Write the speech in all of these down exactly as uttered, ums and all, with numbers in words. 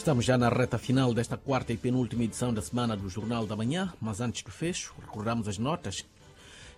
Estamos já na reta final desta quarta e penúltima edição da semana do Jornal da Manhã, mas antes do fecho, recordamos as notas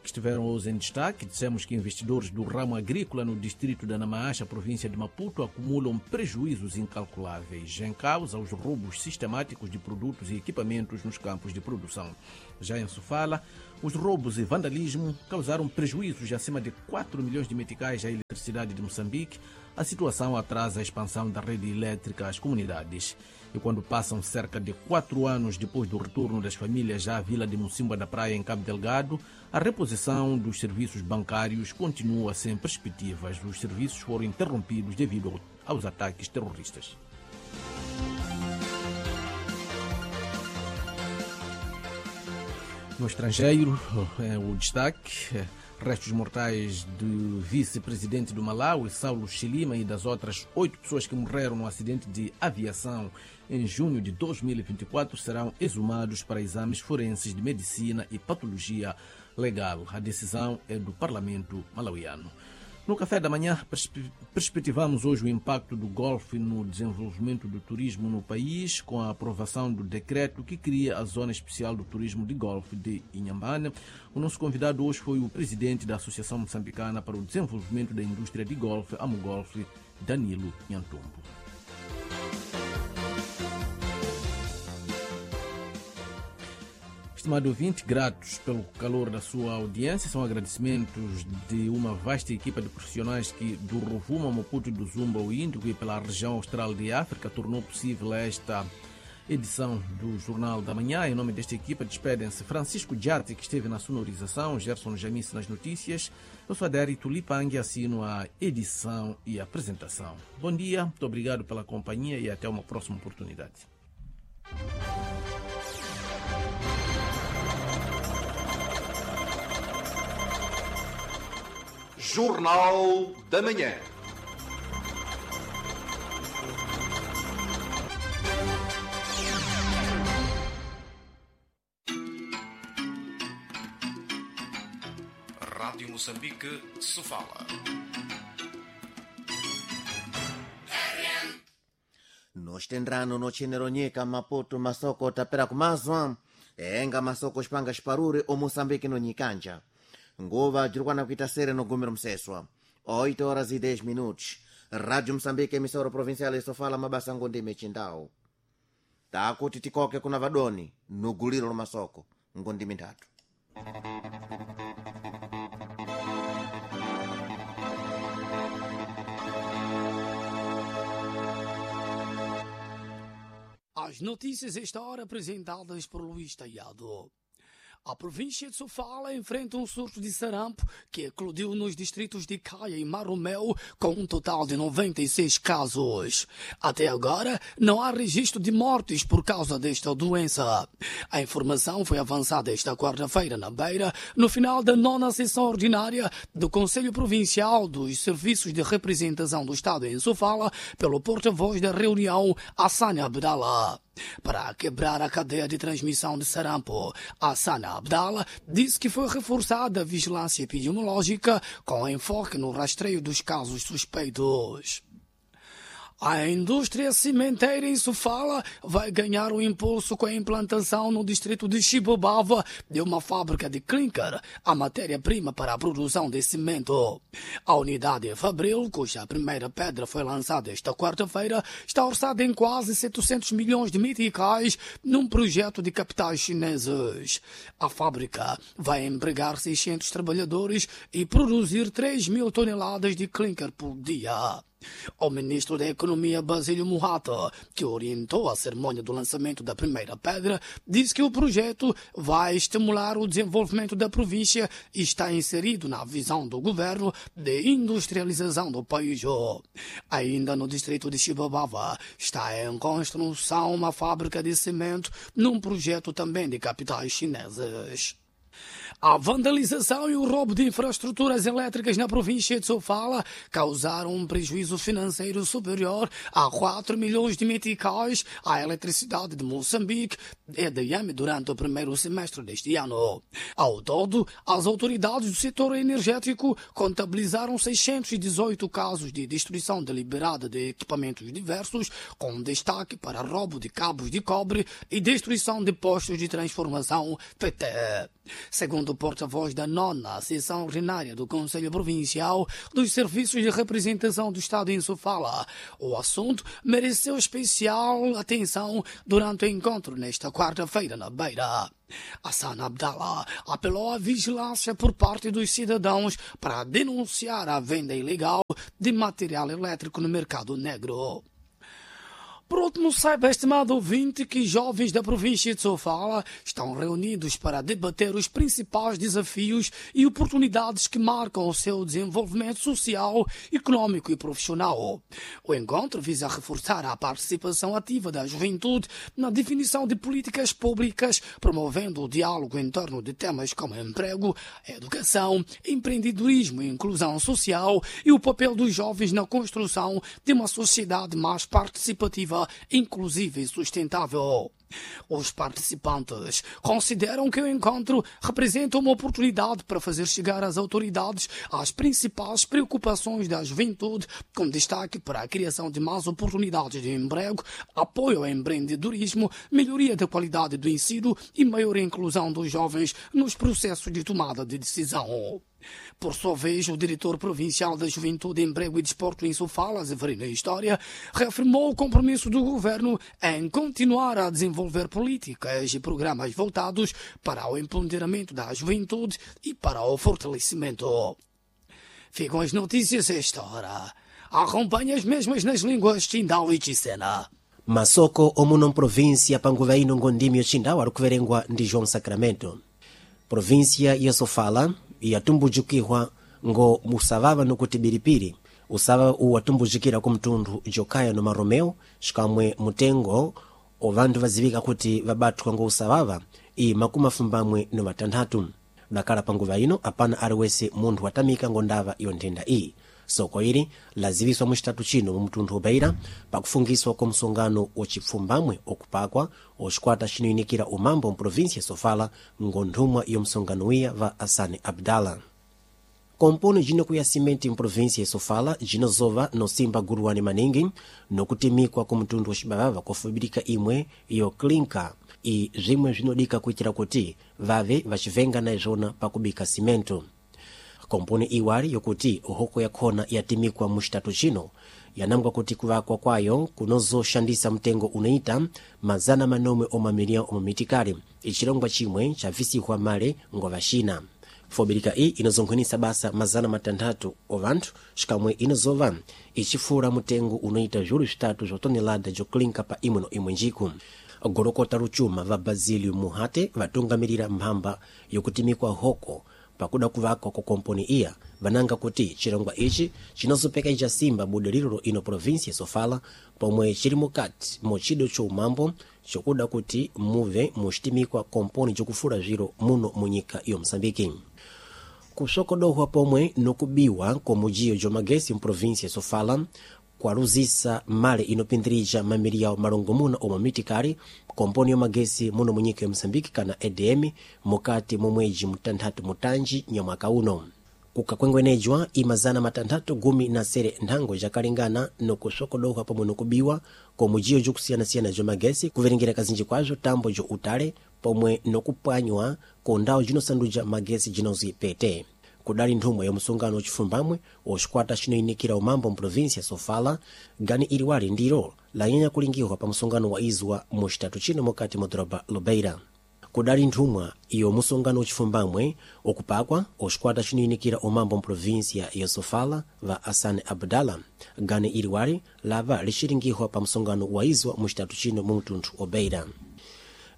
que estiveram hoje em destaque. Dissemos que investidores do ramo agrícola no distrito da Namaacha, província de Maputo, acumulam prejuízos incalculáveis em causa os roubos sistemáticos de produtos e equipamentos nos campos de produção. Já em Sofala, os roubos e vandalismo causaram prejuízos de acima de quatro milhões de meticais à eletricidade de Moçambique. A situação atrasa a expansão da rede elétrica às comunidades. E quando passam cerca de quatro anos depois do retorno das famílias à vila de Mocímboa da Praia, em Cabo Delgado, a reposição dos serviços bancários continua sem perspectivas. Os serviços foram interrompidos devido aos ataques terroristas. No estrangeiro, o destaque: restos mortais do vice-presidente do Malawi, Saulos Chilima, e das outras oito pessoas que morreram no acidente de aviação em junho de dois mil e vinte e quatro serão exumados para exames forenses de medicina e patologia legal. A decisão é do parlamento malauiano. No café da manhã, perspectivamos hoje o impacto do golfe no desenvolvimento do turismo no país, com a aprovação do decreto que cria a Zona Especial do Turismo de Golfe de Inhambane. O nosso convidado hoje foi o presidente da Associação Moçambicana para o Desenvolvimento da Indústria de Golfe, Amugolfe, Danilo Nhantumbo. Estimado ouvinte, gratos pelo calor da sua audiência, são agradecimentos de uma vasta equipa de profissionais que do Rovuma, Maputo e do Zumba ao Índico e pela região austral de África tornou possível esta edição do Jornal da Manhã. Em nome desta equipa despedem-se Francisco Diarte, que esteve na sonorização, Gerson Jamice nas notícias. Eu sou Adérito Lipang e assino a edição e a apresentação. Bom dia, muito obrigado pela companhia e até uma próxima oportunidade. Jornal da Manhã. Rádio Moçambique, Sofala. Nos tendrano no cheneronyeka Maputo masoko tapera kumazwa enga masoko xipanga xiparure o Moçambique no nyikanja. Nguva jirikwana kuita sere no gumiro mseswa oito horas e dez minutos. Rádio Moçambique, emissora provincial esofala mabasa ngondime chindau takuti tikoke kuna vadoni nuguliro lo masoko ngondime nthatu. As notícias esta hora apresentadas por Luís Taiado. A província de Sofala enfrenta um surto de sarampo que eclodiu nos distritos de Caia e Marromeu, com um total de noventa e seis casos. Até agora, não há registro de mortes por causa desta doença. A informação foi avançada esta quarta-feira na Beira, no final da nona sessão ordinária do Conselho Provincial dos Serviços de Representação do Estado em Sofala, pelo porta-voz da reunião, Hassane Abdallah. Para quebrar a cadeia de transmissão de sarampo, Hassane Abdallah disse que foi reforçada a vigilância epidemiológica com enfoque no rastreio dos casos suspeitos. A indústria cimenteira em Sofala vai ganhar um impulso com a implantação no distrito de Chibobava de uma fábrica de clinker, a matéria-prima para a produção de cimento. A unidade Fabril, cuja primeira pedra foi lançada esta quarta-feira, está orçada em quase setecentos milhões de meticais num projeto de capitais chineses. A fábrica vai empregar seiscentos trabalhadores e produzir três mil toneladas de clinker por dia. O ministro da Economia, Basílio Muhata, que orientou a cerimônia do lançamento da primeira pedra, disse que o projeto vai estimular o desenvolvimento da província e está inserido na visão do governo de industrialização do país. Ainda no distrito de Chibabava, está em construção uma fábrica de cimento num projeto também de capitais chineses. A vandalização e o roubo de infraestruturas elétricas na província de Sofala causaram um prejuízo financeiro superior a quatro milhões de meticais à eletricidade de Moçambique, E D M, durante o primeiro semestre deste ano. Ao todo, as autoridades do setor energético contabilizaram seiscentos e dezoito casos de destruição deliberada de equipamentos diversos, com destaque para roubo de cabos de cobre e destruição de postos de transformação P T. Segundo o porta-voz da nona sessão ordinária do Conselho Provincial dos Serviços de Representação do Estado em Sofala, o assunto mereceu especial atenção durante o encontro nesta quarta-feira na Beira. Hassan Abdallah apelou à vigilância por parte dos cidadãos para denunciar a venda ilegal de material elétrico no mercado negro. Por último, saiba, estimado ouvinte, que jovens da província de Sofala estão reunidos para debater os principais desafios e oportunidades que marcam o seu desenvolvimento social, econômico e profissional. O encontro visa reforçar a participação ativa da juventude na definição de políticas públicas, promovendo o diálogo em torno de temas como emprego, educação, empreendedorismo e inclusão social e o papel dos jovens na construção de uma sociedade mais participativa, inclusiva e sustentável. Os participantes consideram que o encontro representa uma oportunidade para fazer chegar às autoridades as principais preocupações da juventude, com destaque para a criação de mais oportunidades de emprego, apoio ao empreendedorismo, melhoria da qualidade do ensino e maior inclusão dos jovens nos processos de tomada de decisão. Por sua vez, o diretor provincial da Juventude, Emprego e Desporto em Sofala, Zeferino História, reafirmou o compromisso do governo em continuar a desenvolver políticas e programas voltados para o empoderamento da juventude e para o fortalecimento. Ficam as notícias a esta hora. Acompanhe as mesmas nas línguas Chindau e Chisena. Masoko omuno província panguva ino ngondimi yochindau ari kuverengwa ndi João Sacramento. Província ya Sofala yatumbujukihwa ngo musavava nokuti biripiri usava uwatumbujukira ku mtundu jokaya no maromeo xikamwe mutengo ovandu vazivika kuti vabathwa ngo usavava i makumi afumbamwe no matanthatu. Dakala panguva ino apana aliwese munthu watamika ngo ndava iyo nthenda iyi. Soko ili laziviswa muxitatu chino mu mtundu ubeira pakufungiswa kwa msongano wocipfumbamwe okupakwa ocikwata cinoyinikira umambo mprovinsia ya Sofala ngo nthumwa yo msongano wiya va Asane Abdala. Komponi jinokuya simenti mprovinsia ya Sofala jinozova nosimba guruwani maningi nokutimikwa ku mtundu wa xibavava kofubirika imwe yo klinka i zvimwe zvinodika kuitira kuti vave vacivenga na izvona pakubika simento. Komponi iwali yokuti hoko yakhona yatimikwa muxitatu chino yanangwa kuti kuvakwa kwayo kunozoshandisa mtengo unoita mazana manomwe omamiliyão omamitikali, icilongwa chimwe chavisihwa male ngo vaxina. Fobirika iyi inozonkhwinisa basa mazana matanthatu ovanthu xikamwe inozova icifula mutengo unoita zviulu zvitatu zva tonelada joklinka pa imwe no imwe njiku. Golokota lucuma va Basilio Muhate vatungamirira mphamba yokutimikwa hoko pakuda kuvakwa kwa komponi iya vananga kuti chilongwa ichi chinozopekeja simba budiriro ino provinsia ya Sofala pomwe chili mukati mochido cho umambo chokuda kuti muve muxitimikwa komponi jokufula zviro muno munyika yo Moçambique. Kusokodohwa pomwe nokubiwa kwa mujiyo jomagesi mprovinsia ya Sofala kwaluzisa male inopindirija mamiliyao malongomuna omwe mitikali komponi yomagesi muno munyika ya Moçambique kana E D M mukati mwa mwedzi mutanthatu mutanji nyamwaka uno. Kukakwengwenejwa imazana matanthatu gumi na sere nthango jakalingana nokusokodohwa pomwe nokubiwa kwa mujiyo jokusiyanasiyana jomagesi kuverengera kazinji kwazvo tambo jo utale pomwe nokupwanywa ku ndawu jinosanduja magesi jinozi P T. Kudali nthumwa ya msungano wacifumbamwe wa cikwata cinoyinikira umambo mprovinsia ya Sofala gani iliwali ndilo lanyanya kulingiwa pa msungano wa izwa muxitatu chino mukati mwa doroba Lobeira. Kudali nthumwa iyo musungano wacifumbamwe okupakwa wa cikwata cinoyinikira umambo mprovinsia ya Sofala va Hassan Abdallah gani iliwali lava lixilingihwa pa msungano wa izwa muxitatu chino mu mtunthu Obeira.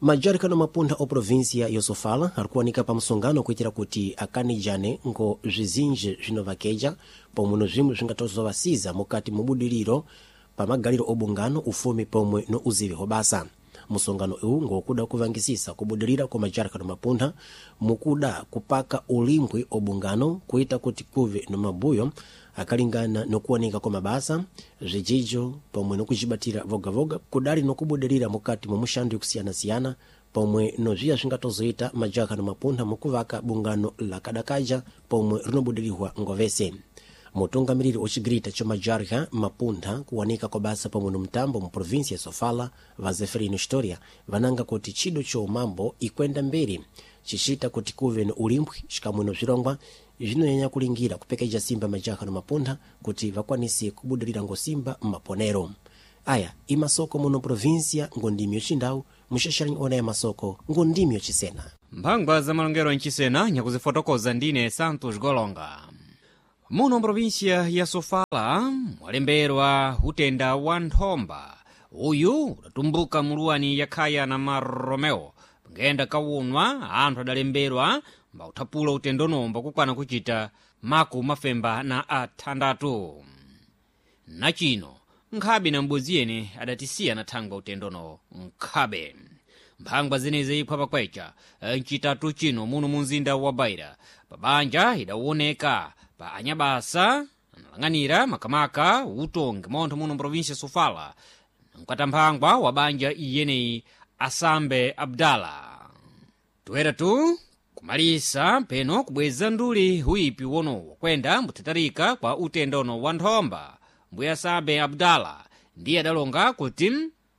Majarikano mapuntha o província ya Sofala arikuwanika pa msongano kuitira kuti akanijane ngo zvizinji zvinovakeja pomwe no zvimwe zvingatozovasiza mukati mubudiriro pa magaliro obungano ufumi pomwe no uzivi hobasa. Musongano uwu ngokuda kuvangisisa kubudirira kwa majarka no mapuntha mukuda kupaka ulimbwi obungano kuita kuti kuve no mabuyo akalingana nokuoneka kwa mabasa, zvijijo pomwe nokujibatira vogavoga kudali nokubudirira mukati mwa muxando yakusiyana-siyana pomwe nozviya zvingatozoita majaka no mapuntha mukuvaka bungano lakadakaja pomwe rinobudirirwa ngovese. Mutungamiriri ocigirita ca majarha mapuntha kuwanika kwa basa pomwe no mtambo mu província ya Sofala, va Zeferino Historia, vananga kuti chido cho umambo ikwenda mberi cicita kuti kuve no ulimbwi xikamwe no zvirongwa zvinonyanya kulingira kupekeja simba majaha no mapuntha kuti vakwanise kubudirira ngosimba mmaponero. Aya imasoko muno província ngondimi yochindau muxaxaranyi ona ya masoko ngondimi yocisena. Mphangwa za malongero mchisena nyakuzifotokoza ndine Santos Golonga. Muno mprovinsia ya Sofala mwalemberwa utenda wa nthomba. Uyu udatumbuka muluwani ya Khaya na Maromeo. Ngenda kawunwa anthu adalemberwa mbauthapula utendono mbakukwana kuchita maku mafemba na athandatu. Nachino nkhabe na m'bodzi yene adatisiya na thangwa utendono nkhabe. Mphangwa zenezi iphwa pakwecha mchitatu chino muno mu mzinda wa Beira. Pabanja idawoneka pa anyabasa analang'anira makamaka utongi montho muno mprovinsia Sofala, mkatamphangwa wa banja iyeneyi Asambe Abdala. Toeratu kumalisa peno kubweza nduli huipi wonowo kwenda mbuthatarika kwa utendono wa nthomba. Mbuya Asambe Abdala ndiye adalonga kuti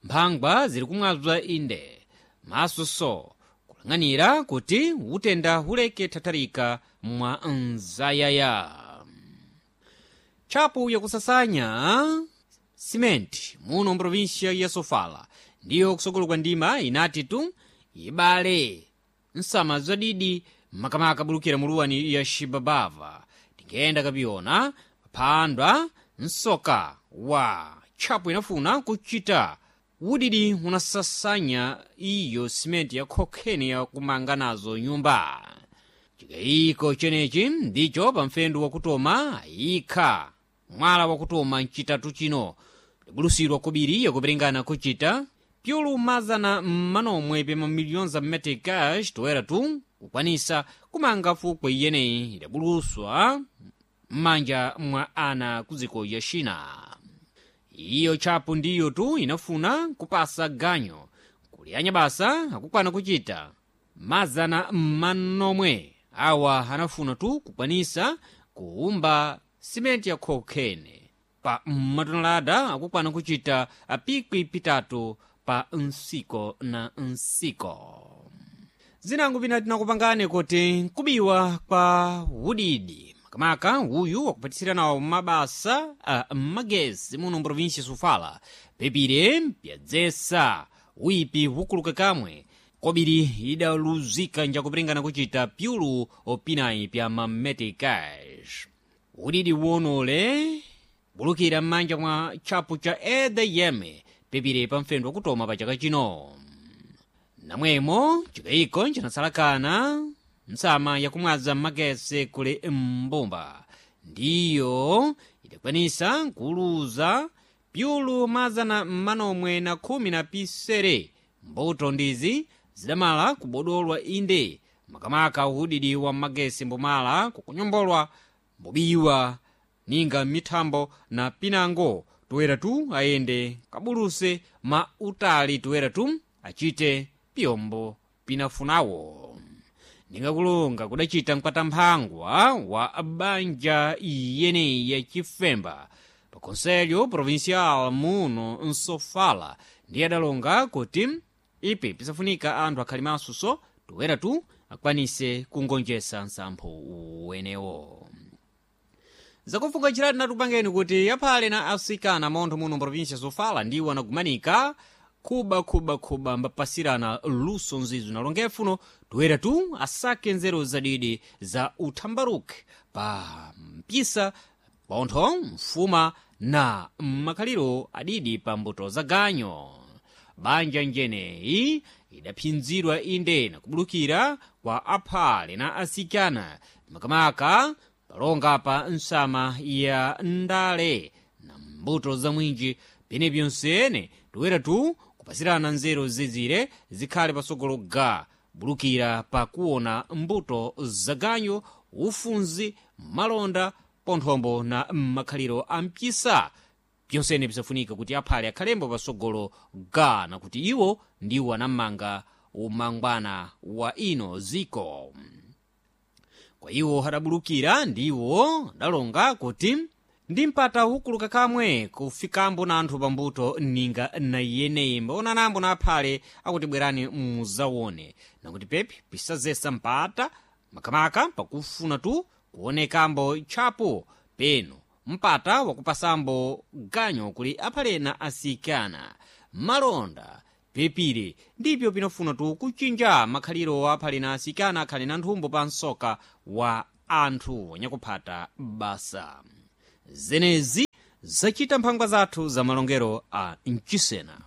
mphangwa ziri kumwazwa inde masoso kulang'anira kuti utenda huleke thatharika mwa nzayaya. Tchapu yakusasanya simenti muno mprovinsia ya Sofala ndiyo kusokolo kwa ndima inati tu ibale nsama zadidi makamaka bulukira muluwani ya Xibabava. Tingenda kapiyona paphandwa msoka wa tchapu inafuna kuchita udidi unasasanya iyo simenti ya khokheni yakumanga nazo nyumba. Chikayiko chenechi ndicho pamfendu wakutoma ayikha mwala wakutoma mchitatu chino bulusidwa kobiri yakuperingana kuchita pyulu mazana manomwe pa mamiliyoni za meticas toera tu kukwanisa kumanga fukwe iyeneyi idabuluswa m'manja mwa ana kuziko ya China. Iyo tchapu ndiyo tu inafuna kupasa ganyo kuli anyabasa akukwana kuchita mazana manomwe awa anafuna tu kukwanisa kuumba simenti ya khokhene pa matonelada akukwana kuchita pikwi pitatu pa nsiko na nsiko. Zinango pina tinakupangane kuti kubiwa kwa udidi makamaka uyu wakupatisira nawo mabasa a magesi muno mprovinsia Sofala pepire pyadzesa uipi hukuluka kamwe kobiri idaluzika njakupiringana kuchita pyulu opinayi pya mameticas. Udidi wonole bulukira m'manja mwa tchapu cha edm pepire pamfendo wakutoma pa chaka chino. Namwemo chikayiko ncinasalakana nsama yakumwaza magese kuli mbumba ndiyo idakwanisa kuluza pyulu mazana manomwe na khumi na pisere. Mbuto ndizi zidamala kubodolwa inde makamaka uhudidi wa magesi mbumala kukunyombolwa mbubiwa ninga mithambo na pinango toera tu ayende kabuluse ma utali toera tu achite piyombo pinafunawo. Ningakulunga kudachita mkatamphangwa wa banja iyeneyi ya Chifemba pa Conselho Provincial muno Nsofala ndiye adalonga kuti ipi pisafunika anthu akhali masuso toera tu akwanise kungonjesa nsampho wenewo. Zakufuka chirati natupangeni kuti aphale na asikana montho muno mprovinsia Sofala ndiwo anagumanika khuba khuba khuba mbapasirana luso nzizo nalongefuno toera tu asake nzeru zadidi za uthambaruke pa mpisa pontho mfuma na makhaliro adidi pa mbuto za ganyo. Banja njeneyi idaphinzidwa inde na kubulukira kwa aphale na asikana makamaka palonga pa nsama ya ndale na mbuto za mwinji pene pyonsene toera tu Kupasirana nzeru zizire zikhale pasogolo ga bulukira pakuona mbuto zaganyu, ufunzi, malonda, ponthombo na makhaliro a mpisa. Byonsene bisafunika kuti aphale akhalembo pasogolo ga na kuti iwo ndiwo anamanga umangwana wa ino ziko. Kwa iwo adabulukira ndiwo adalonga kuti ndi mpata ukuluka kamwe kufikambo na anthu pambuto ninga na iyeneyi. Mbaonanambo na aphale akuti bwerani muzawone, nakuti pepi pisazesa mpata makamaka pakufuna tu kuonekambo tchapo peno mpata wakupasambo ganyo kuli aphale na asikana malonda pepire ndipyo pinofuna tu kuchinja makhaliro wa aphale na asikana akhale na nthumbo pa msoka wa anthu wanyakuphata basa. Zenezi zachita mphangwa zathu za malongero a mchisena.